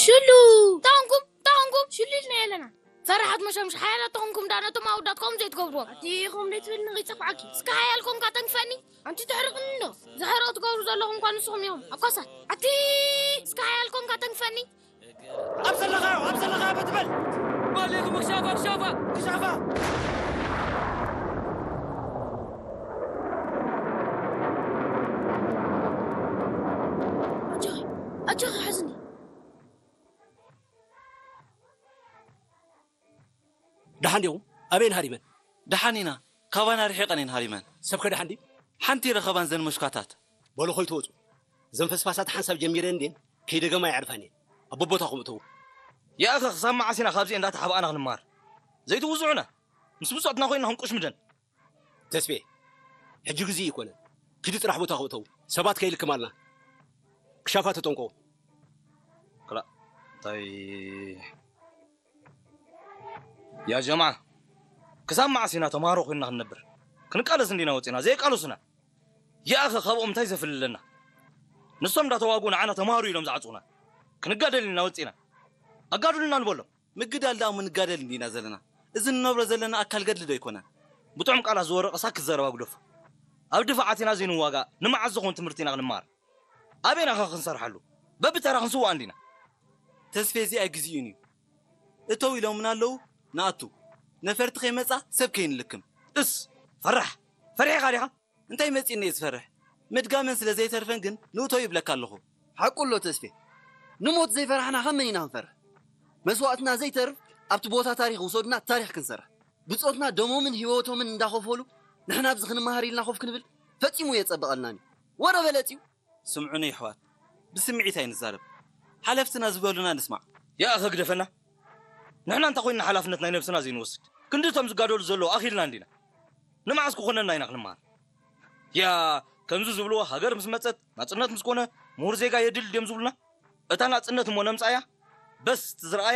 ሽሉ! ታንኩም፣ ታንኩም፣ ሽሉ ኢልና የለና። ፈራሓት መሸምሽ ሓያላት ተኾንኩም ዳ ነቶም ኣውዳት ከምኡ ዘይትገብርዎም። ኣቲ ኹም ዘይትብል ንኸይጸፍዓኪ። እስከ ሓያል ኮንካ ተንክፈኒ። ኣንቲ ተሕርቕኒ እንዶ። ዝሕርቕ ትገብሩ ዘለኹም እኳ ንስኹም እዮም። ኣኳሳት። ኣቲ እስከ ሓያል ኮንካ ተንክፈኒ። ኣብ ዘለኻዮ፣ ኣብ ዘለኻዮ በትበል። ማሌኩም ክሻፋ፣ ክሻፋ። ክሻፋ። ኣጆኺ፣ ኣጆኺ ሓዝኒ። ደሓን ዲኹም? ኣበየን ሃሪመን? ደሓን ኢና። ካባና ርሒቐን እየን ሃሪመን። ሰብከ ደሓን ድዩ? ሓንቲ ረኸባን ዘን መሽኳታት። በሉ ኾይ ትወፁ። ዘን ፈስፋሳት ሓንሳብ ጀሚረን እንዴን ከይደገማ የዕርፈን እየን። ኣብ ቦታኹም እተዉ። ያእኸ ክሳብ መዓስ ኢና ካብዚ እንዳተሓባእና ክንመሃር? ዘይትውዝዑና። ምስ ብጾትና ኮይንና ክንቁሽምደን። ተስፌ፣ ሕጂ ግዜ ይኮነ። ኪዲ ጥራሕ ቦታኹም እተዉ። ሰባት ከይልክማልና። ክሻፋ ተጠንቀቑ። ክላ-፣ እንታይ ያ ጀማዓ፣ ክሳብ መዓስ ኢና ተምሃሮ ኮይንና ክንነብር? ክንቃለስ እንዲና ወፂና፣ ዘይቃለሱና። ያእኸ ካብኦም እንታይ ዘፍልለና? ንሶም እንዳተዋግኡ ንዓና ተምሃሩ ኢሎም ዝዓፅኡና። ክንጋደል ኢና ወፂና። ኣጋድሉና ንበሎም። ምግዳል ደኣ እሞ ንጋደል እንዲና ዘለና። እዚ ንነብሮ ዘለና ኣካል ገድሊ ዶ ኣይኮነን? ብጥዑም ቃላት ዝወረቐ ሳክት ዘረባ ግደፎ። ኣብ ድፋዓት ኢና ዘይንዋጋእ፣ ንመዓስ ዝኾን ትምህርቲ ኢና ክንመሃር? ኣበይና ኸ ክንሰርሓሉ? በብተራ ክንስዋእ እንዲና። ተስፌ፣ እዚኣ ግዜኡን እዩ። እተው ኢሎምና ኣለዉ፣ ንኣቱ። ነፈርቲ ከይመጻ ሰብ ከይንልክም። እስ፣ ፈራሕ፣ ፈሪሕኻ ዲኻ? እንታይ መጺእኒ እየ ዝፈርሕ? ምድጋመን ስለ ዘይተርፈን ግን ንእቶ ይብለካ ኣለኹ። ሓቁ ኣሎ ተስፌ። ንሞት ዘይፈራሕና ካብ መን ኢና ክንፈርሕ? መስዋእትና ዘይተርፍ ኣብቲ ቦታ ታሪኽ ውሰዱና ታሪኽ ክንሰርሕ። ብጾትና ደሞምን ህይወቶምን እንዳኸፈሉ ንሕና ኣብዚ ክንመሃር ኢልና ኮፍ ክንብል ፈጺሙ የጸብቐልናን እዩ። ወረ በለጽ እዩ። ስምዑኒ የሕዋት፣ ብስምዒት ኣይንዛረብ። ሓለፍትና ዝበሉና ንስማዕ። ያእኸ ግደፈና። ንሕና እንታይ ኮይንና ሓላፍነት ናይ ነብስና ዘይንወስድ? ክንዲ እቶም ዝጋደሉ ዘለዉ ኣኺልና እንዲና። ንመዓስ ክኾነና ኢና ክንመሃር? ያ፣ ከምዚ ዝብልዎ ሃገር ምስ መጸት፣ ናጽነት ምስ ኮነ፣ ምሁር ዜጋ የድል ድዮም ዝብሉና? እታ ናጽነት እሞ ነምጻያ? በስ፣ እቲ ዝረኣየ